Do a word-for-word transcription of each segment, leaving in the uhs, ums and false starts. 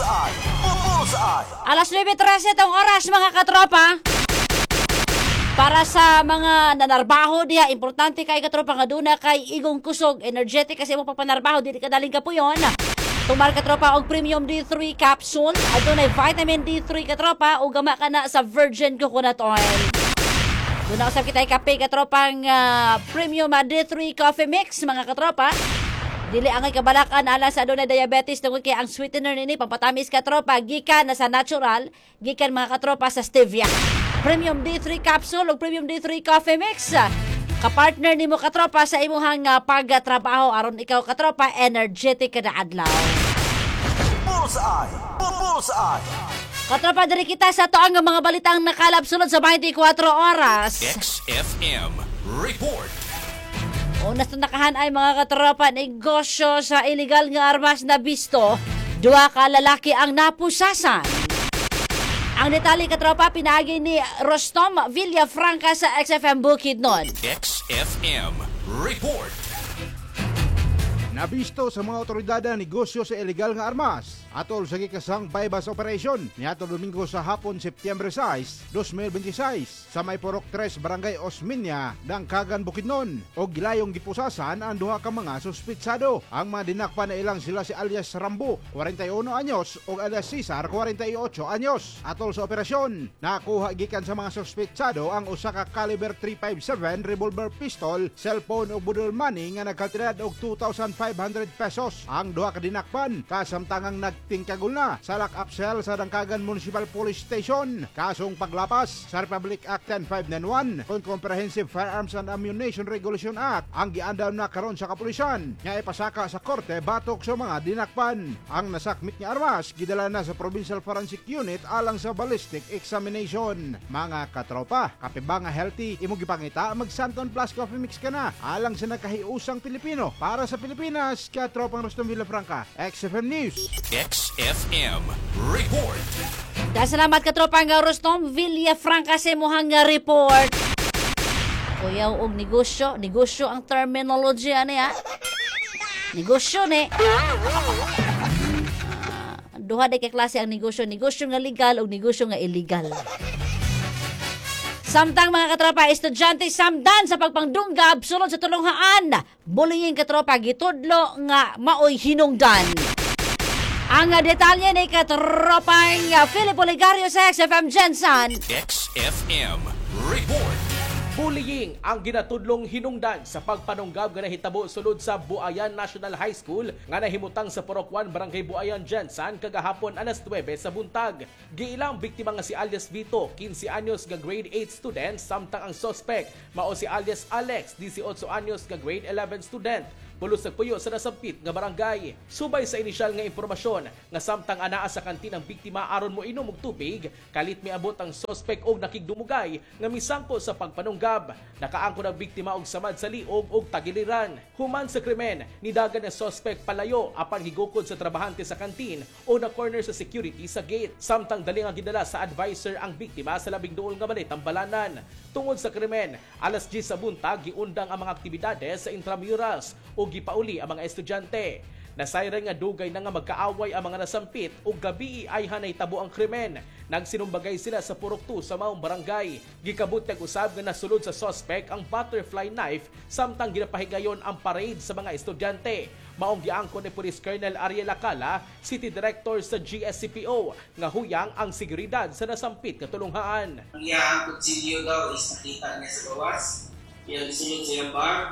Bullseye! Bullseye! Alas nuwebe trese tong oras, mga katropa. Para sa mga nanarbaho diha, importante kay, katropa, nga duna kay igong kusog, energetic kasi mo pagpanarbaho, dili ka daling kapuyon. Tumar, katropa, og Premium D three capsule. Adunay vitamin D three, katropa, ug gama ka na sa virgin coconut oil. Duna usab kita kape, katropang ah, Premium ah, D three coffee mix, mga katropa. Dili angay kabalakan ala sa adunay diabetes tungod kay ang sweetener nini pampatamis, katropa, gikan na sa natural, gikan, mga katropa, sa stevia. Premium D three capsule ug Premium D three coffee mix. Kapartner nimo, katropa, sa imuhang ah, pagtrabaho aron ikaw, katropa, energetic kada adlaw. Bullseye! Bullseye! Katropa, diri kita sa atoang mga balitang nakalap sulod sa bente kwatro oras. X F M Report. Una sa nakahan ay, mga katropa, negosyo sa illegal nga armas na bisto. Duha ka lalaki ang napusasan. Ang detalye, katropa, pinaagi ni Rostom Villafranca sa X F M Bukidnon. X F M Report. Nabisto sa mga otoridad ang negosyo sa ilegal nga armas atol sa gikasang buy-bust operation niadto Domingo sa hapon, Setyembre sais, dalawang libo bente sais sa may Purok tres, Barangay Osmeña, Dangcagan, Bukidnon og gilayong gipusasan ang duha ka mga suspitsado. Ang mga dinakpan na ilang sila si alias Rambo, kwarenta y uno anyos, ug alias Cesar, kwarenta y otso anyos. Atol sa operasyon, nakuha gikan sa mga suspitsado ang usa ka caliber three fifty-seven revolver pistol, cellphone ug budol money nga nagkaltidad og two thousand five hundred pesos. Ang duha ka dinakpan kasamtangang nagtingkagul na sa lock-up cell sa Dangcagan Municipal Police Station. Kasong paglapas sa Republic Act ten five ninety-one kon Comprehensive Firearms and Ammunition Regulation Act ang giandam na karon sa kapulisan nga ipasaka sa korte batok sa mga dinakpan. Ang nasakmit nga armas gidala na sa Provincial Forensic Unit alang sa ballistic examination. Mga katropa, kape ba nga healthy imo gipangita? Mag Santon Plus Coffee Mix ka na alang sa nakahiusang Pilipino. Para sa Pilipinas, katropang Rustom Villafranca, X F M News. X F M Report. Dahil salamat, katropang Rostom Villafranca, sa imuhang report. Kuyaw og negosyo, negosyo ang terminology ani ha. Negosyo ni. Ah, duha day ka klase ang negosyo, negosyo nga legal o negosyo nga illegal. Samtang, mga katropa, estudyante samdan sa pagpangdunggab sulod sa tulunghaan. Bullying, katropa, gitudlo nga maoy hinungdan. Ang detalye ni katropang Philip Oligario sa X F M Gensan. X F M Report. Bullying ang ginatudlong hinungdan sa pagpanunggab nga nahitabo sulod sa Buayan National High School nga nahimutang sa Purok one, Barangay Buayan, Gensan kagahapon alas nuwebe sa buntag. Giilang biktima nga si alias Vito, kinse anyos nga grade eight student, samtang ang suspect mao si alias Alex, labing-walo anyos nga grade eleven student, pulos nagpuyo sa nasampit nga barangay. Subay sa inisyal nga impormasyon nga samtang anaa sa kantin ang biktima aron mo inom og tubig, kalit miabot ang suspect og nakigdumugay nga misangko sa pagpanunggab. Nakaangkon ang biktima og samad sa liog og tagiliran. Human sa krimen, nidagan ang suspect palayo apan gigukod sa trabahante sa kantin o na corner sa security sa gate. Samtang dali nga gidala sa advisor ang biktima sa labing duol nga balay tambalanan. Tungod sa krimen, alas diyes sa buntag giundang ang mga aktibidades sa intramurals o gipauli ang mga estudyante. Nasayran nga dugay na nga magkaaway ang mga nasampit ug gabi ay hanay tabo ang krimen. Nagsinumbagay sila sa Purok two sa maong barangay. Gikabutyag usab nga nasulod sa suspect ang butterfly knife samtang ginapahigayon ang parade sa mga estudyante. Maong giangkon ni Police Colonel Ariel Acala, City Director sa G S C P O, nga huyang ang seguridad sa nasampit nga tulunghaan. Ang iyang kutsilyo daw is nakita niya sa gawas. Iyang gisulod sa iyang bag.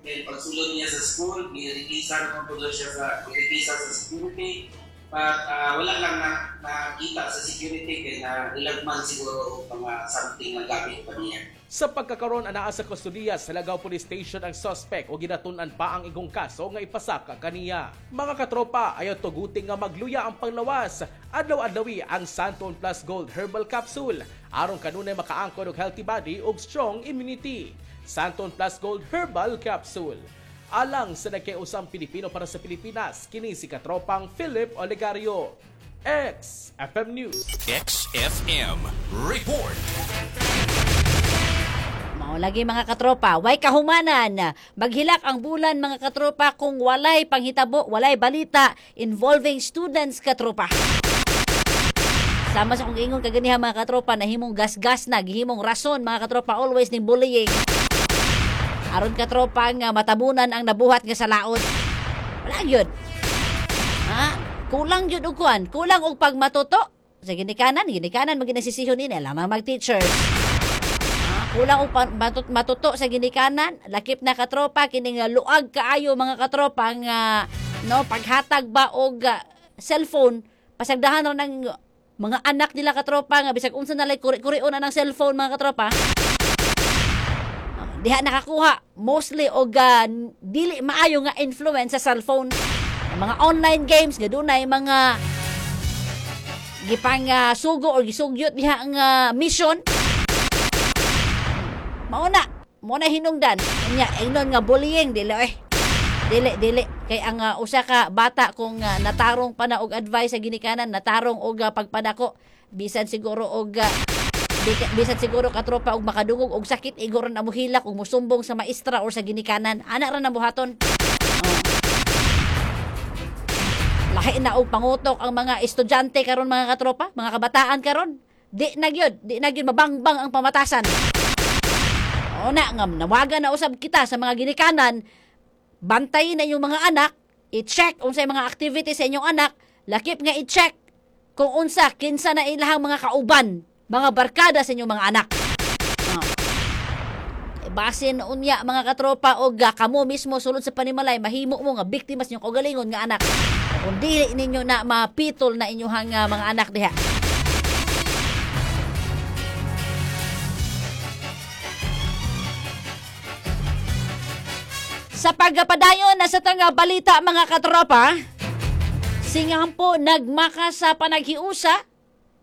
Then pagsulod niya sa school, girekisan ko po siya sa girekisa sa security. But ah, wala lang na, nakita sa security kay na ilagman siguro og mga something na gamit pa niya. Sa pagkakaroon, anaa sa kustodiya sa Lagaw Police Station ang suspect o ginatun-an pa ang igong kaso nga ipasaka kaniya. Mga katropa, ayaw tuguti nga magluya ang panglawas. Adlaw-adlawi ang Santon Plus Gold Herbal Capsule aron kanunay makaangkon og healthy body ug strong immunity. Santon Plus Gold Herbal Capsule. Alang sa nagkausang Pilipino para sa Pilipinas, kini si katropang Philip Olegario. X F M News. X F M Report. Mao lagi, mga katropa, way kahumanan. Maghilak ang bulan, mga katropa, kung walay panghitabo, walay balita involving students, katropa. Sama sa akong giingon kaganiha mga katropa, nahimong gasgas na, gihimong rason mga katropa always ning bullying. Aron katropa nga matabunan ang nabuhat nga sa laot. Wala yun. Ha? Kulang yun og kuan, kulang og pagmatuto. Sa ginikanan, ginikanan maginasisihon nila lamang mag-teachers. Ha? Kulang og matut- matuto sa ginikanan, lakip na katropa kining luag kaayo mga katropa nga no paghatag ba og uh, cellphone, pasagdahan ra ng mga anak nila katropa nga bisag unsa na lay kuri-kurion na ng cellphone mga katropa. Diha nakakuha mostly og uh, dili maayo nga influence sa cellphone. Mga online games nga dunay mga gipang uh, sugo or gisugyot diha nga mission. Mao na, mao na hinungdan. Nya ingnon nga bullying dili eh. Dili dili kay ang uh, usa ka bata kung uh, natarong pa na og advice sa ginikanan, natarong og uh, pagpadako, bisan siguro og uh, bisan siguro katropa og makadungog og sakit igo ra na mohilak og mosumbong sa maestra or sa ginikanan. Ana ra na buhaton. Oh. Lahi na og pangutok ang mga estudyante karon mga katropa, mga kabataan karon. Di na gyud, di na gyud mabangbang ang pamatasan. O na ngam nawagan na usab kita sa mga ginikanan, bantayin na inyong mga anak, i-check unsay mga activities sa inyong anak, lakip nga i-check kung unsa kinsa na ilahang mga kauban, mga barkada sa inyong mga anak. Oh. Basin unya mga katropa og kamo mismo sulod sa panimalay mahimo mo nga biktima sa inyong kaugalingon nga anak. Kung dili ninyo na mapitol na inyong uh, mga anak diha. Sa pagpadayon na sa tanga balita mga katropa, singampo nagmaka sa panaghiusa.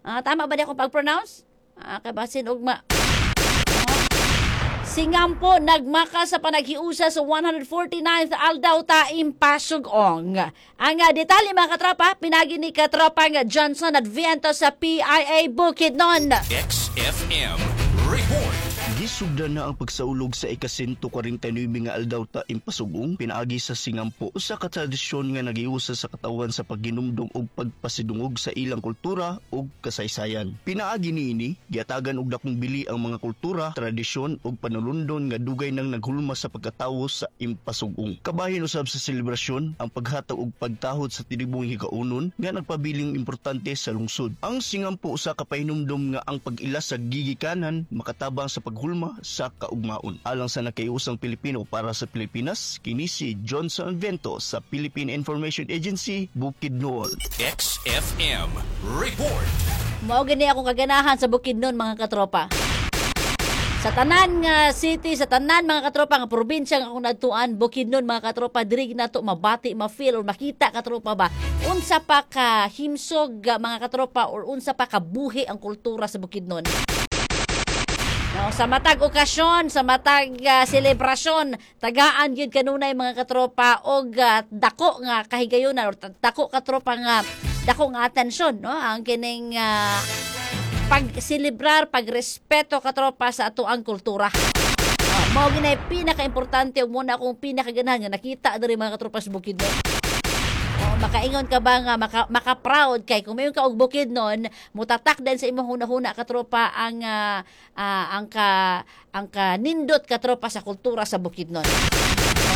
Ah, tama ba di akong pag-pronounce? Ah, kabasin ugma. Singampo nagmaka sa panaghiusa sa one hundred forty-ninth Aldaw Taim Pasugong. Ang detalye mga katropa, pinagi ni katropa nga Johnson Adviento sa P I A Bukidnon. X F M Report. Gisugdan na ang pagsaulog sa ika-one forty-nine nga Aldaw Taim Pasugong pinaagi sa singampo, usa ka tradisyon nga nagiusa sa katawan sa pagginumdum ug pagpasidungog sa ilang kultura ug kasaysayan. Pinaagi niini, giatagan og dakong bili ang mga kultura, tradisyon ug panulundon nga dugay nang naghulma sa pagkatawo sa Impasugong. Kabahin usab sa selebrasyon ang paghatag ug pagtahod sa tinibong higaunon nga nagpabiling importante sa lungsod. Ang singampo usa ka pahinumdum nga ang pag-ila sa gigikanan makatabang sa paghulma sa kaugmaon. Alang sa nakaiusang Pilipino para sa Pilipinas, kini si Johnson Vento sa Philippine Information Agency, Bukidnon. X F M Report. Mao gani akong kaganahan sa Bukidnon mga katropa. Sa tanan nga city, sa tanan mga katropa nga probinsya nga akong nadtuan, Bukidnon mga katropa, diri nato mabati, ma-feel or makita katropa ba unsa pa ka himsog mga katropa or unsa pa ka buhi ang kultura sa Bukidnon. No, sa matag okasyon, sa matag uh, selebrasyon, tagaan gyud kanunay mga katropa og uh, dako nga kahigayunan or dako katropa nga dako nga atensyon, no, ang kining uh, pagselebrar, pagrespeto katropa sa atoang kultura. Oh, mao ginay pinakaimportante ug muna akong pinakaganahan nga nakita diri mga katropa sa Bukidnon. Oh, makaingon ka ba nga maka, maka-proud kay kung mayon ka og Bukidnon, mutatak din sa imong hunahuna katropa ang uh, uh, ang ka ang kanindot katropa sa kultura sa Bukidnon.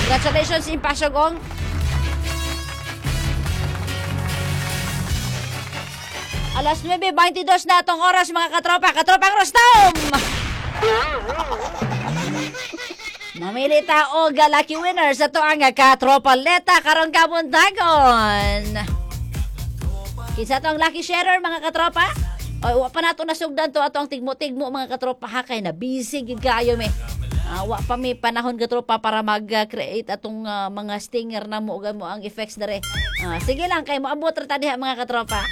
Congratulations Impasugong. Alas nuwebe beinte-dos na atong oras mga katropa, katropang Rostom. Mamili ta og lucky winner sa to ang katropa leta karong kabuntagon. Kinsa to ang lucky sharer mga katropa? Oy, wa pa nato nasugdan to ato ang tigmo-tigmo mga katropa ha kay na busy gid kaayo mi. Uh, wa pa mi panahon katropa para mag-create atong uh, mga stinger na mo ug mo ang effects dere. Uh, sige lang kay moabot ra ta diha mga katropa.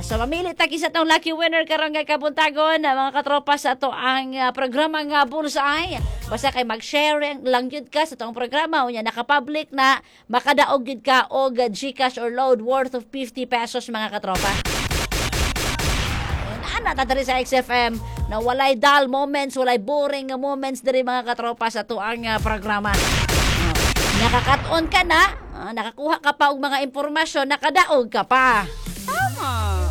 So mamili ta kinsa tong lucky winner karon nga kabuntagon mga katropa sa ato ang uh, programa nga Bullseye. Basta kay mag-share lang gyud ka sa atong programa unya naka-public na makadaog gyud ka og GCash or load worth of fifty pesos mga katropa. Ana ta diri sa X F M na walay dull moments, walay boring nga moments diri mga katropa sa ato ang uh, programa. Uh, nakakat-on ka na, uh, nakakuha ka pa og mga impormasyon, nakadaog ka pa. Tama.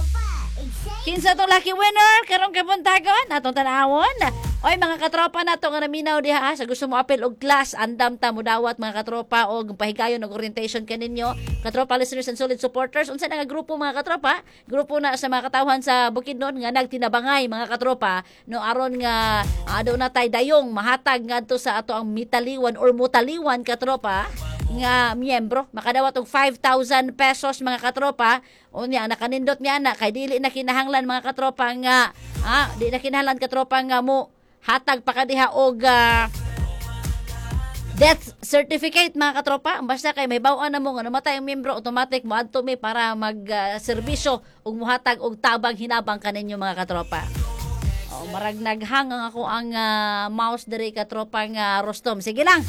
Kinsa tong lucky winner karong kabuntagon atong tanawon. Oy, mga katropa nato nga naminaw diha ha, sa gusto mo apil og class, andam ta mudawat, mga katropa, og pahigayon og orientation kaninyo. Katropa listeners and solid supporters, unsa na nga grupo, mga katropa? Grupo na sa mga katawhan sa Bukidnon nga nagtinabangay, mga katropa, no, aron nga uh, na tay dayong mahatag ngadto sa ato ang mitaliwan or mutaliwan, katropa, nga miyembro makadawat og five thousand pesos, mga katropa. Unya nakanindot niya na kay dili na kinahanglan, mga katropa, nga ah, di na kinahanglan, katropa, nga mo hatag pa ka diha og ah, death certificate, mga katropa. Basta kay may baw-an na mo nga namatay ang miyembro, automatic moadto mi para mag ah, serbisyo ug muhatag og tabang hinabang kaninyo, mga katropa. Oh, marag naghang ang ako ang ah, mouse diri, katropa nga Rostom. Sige lang.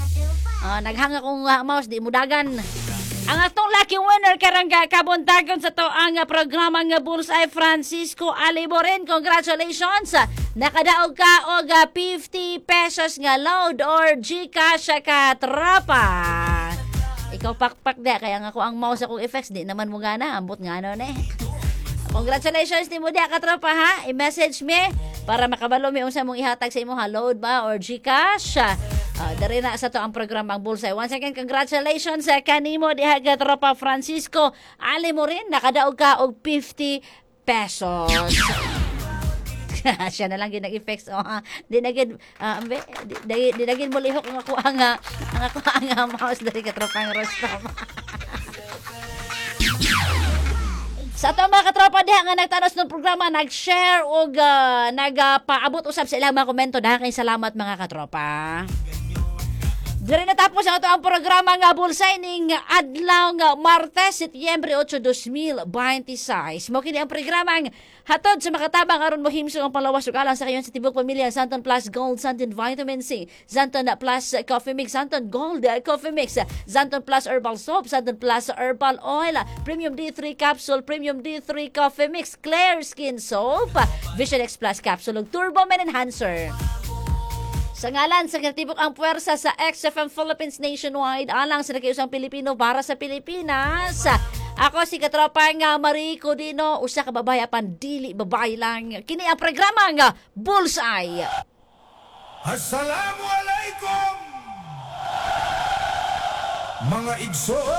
Ah, naghang akong ah, mouse, di mudagan. Ang atong lucky winner karong ka- kabuntagon sa to ang ah, programa nga Bullseye, Francisco Aliboren. Congratulations! Nakadaog ka og ah, fifty pesos nga load or GCash, katropa. Ikaw pakpak di kaya nga ako ang mouse akong effects di naman mo gana, ambot nga ano ne. Congratulations nimo diha, katropa, ha. I-message me para makabalo mi unsa mong ihatag sa imo ha, load ba or GCash. Uh, dari na sa to ang programang Bullseye. Once again, congratulations sa kanimo diha, katropa Francisco Ali mo rin, nakadaog ka og fifty pesos. Siya na lang gid nag-effects, oh ha. Di na gid ah, ambe, di, di, di na gid mo lihok ang ako ang ah, ang ako ang ah, mouse diri, katropang Rostom. Sa atong mga katropa diha nga nagtanos ng programa, nag-share og uh, nagpaabot usab sa ilang mga komento, dahil kay salamat, mga katropa. Diri natapos ang ato ang programa nga Bullseye ning adlaw nga Martes, Setyembre otso, dalawang libo bente sais. Mao kini ang programa ang hatod sa makatabang aron mohimsog ang panglawas ug alang sa kayon sa tibok pamilya: Xanthone Plus Gold, Xanthone Vitamin C, Xanthone Plus Coffee Mix, Xanthone Gold Coffee Mix, Xanthone Plus Herbal Soap, Xanthone Plus Herbal Oil, Premium D three Capsule, Premium D three Coffee Mix, Clear Skin Soap, Vision X Plus Capsule ug Turbo Men Enhancer. Sa ngalan sa kinatibok ang puwersa sa X F M Philippines Nationwide, alang sa nagkausang Pilipino para sa Pilipinas. Ako si katropa nga Marie Codino, usa ka babae apan dili babae lang. Kini ang programa nga Bullseye. Assalamualaikum, mga igsoon.